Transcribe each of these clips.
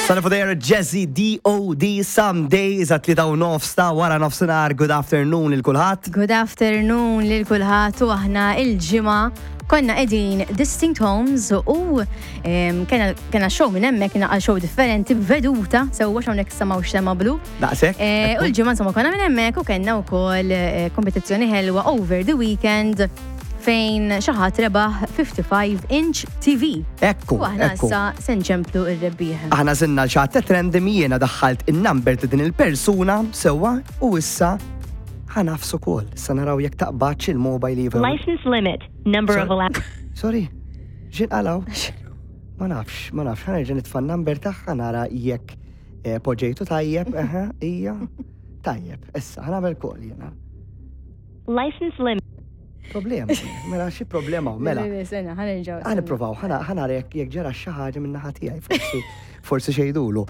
Son of There, Jazzy D.O.D. Some Days at 3:30 ta' wara nofsinhar. Good afternoon lil kulħadd. Good afternoon lil kulħadd u aħna il-ġimgħa konna qegħdin Distinct Homes u kena show minn hemmhekk kien show differenti b'veduta sewwa hawnhekk samaw xema blu. Daqshekk. Eh, u l-ġimgħa insomma konna minn hemmhekk u kellna wkoll eh, kompetizzjoni ħelwa over the weekend fejn xi ħadd rebaħ 55 inch TV. Ekku. U aħna issa se nċemplu r-rebbieħ. Aħna żilna l xatt random jiena daħħalt in-number ta' din il-persuna sewwa u issa ħanafsu kol. Issa naraw jekk taqbadx il-mobile iva. License limit, number of allowed. Sorry, x'in qalaw? Ma nafx, ma nafx, ħanerġa' nitfa' n-number tagħha nara jekk eh, poġġejtu tajjeb, eħe, ija. Tajjeb, issa ħanagħmel kol jiena. License limit. Problema, mela xi problema mela. Sena, ħanerġaw. Ħa nipprovaw, ħa nara jekk ġara xi ħaġa minn naħa tiegħi forsi forsi xejdulu.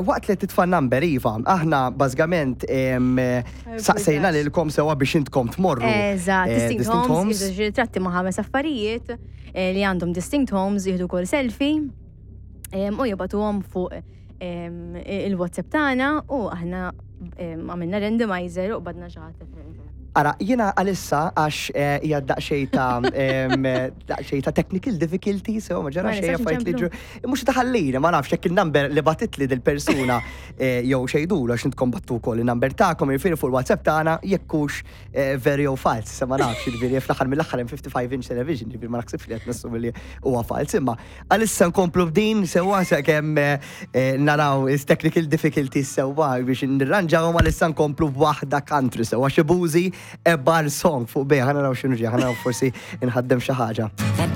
Waqt li titfa' number iva, aħna bażikament saqsejna lilkom sewwa biex intkom tmorru. Eżatt, eh, Distinct Homes, ritratti ma' ħames affarijiet eh, li għandhom Distinct Homes jieħdu kol selfie u jibatuhom fuq il-WhatsApp tagħna u aħna għamilna randomizer u qbadna xi ħadd. Ara, jiena għalissa għax eh, hija daqsxejn ta' daqsxejn ta' technical difficulty, so ma ġara xejn affarijiet li ġru. Mhux taħallina, ma nafx jekk il-number li batitli dil-persuna eh, jew xejdulu għax intkom battu wkoll il-number tagħkom jiġifieri fuq il-WhatsApp tagħna jekk hux eh, veri jew fals, se ma nafx, jiġifieri fl-aħħar mill-aħħar hemm 55 inch television, jiġifieri ma naħsibx li qed nassumi li huwa fals, imma Għalissa nkomplu b'din sewwa sakemm eh, eh, naraw is technical difficulties sewwa biex nirranġawhom għalissa nkomplu b'waħda country sewwa xi bużi e bar song fuq bejħa naraw x'inhu ġej, naraw forsi nħaddem xi ħaġa.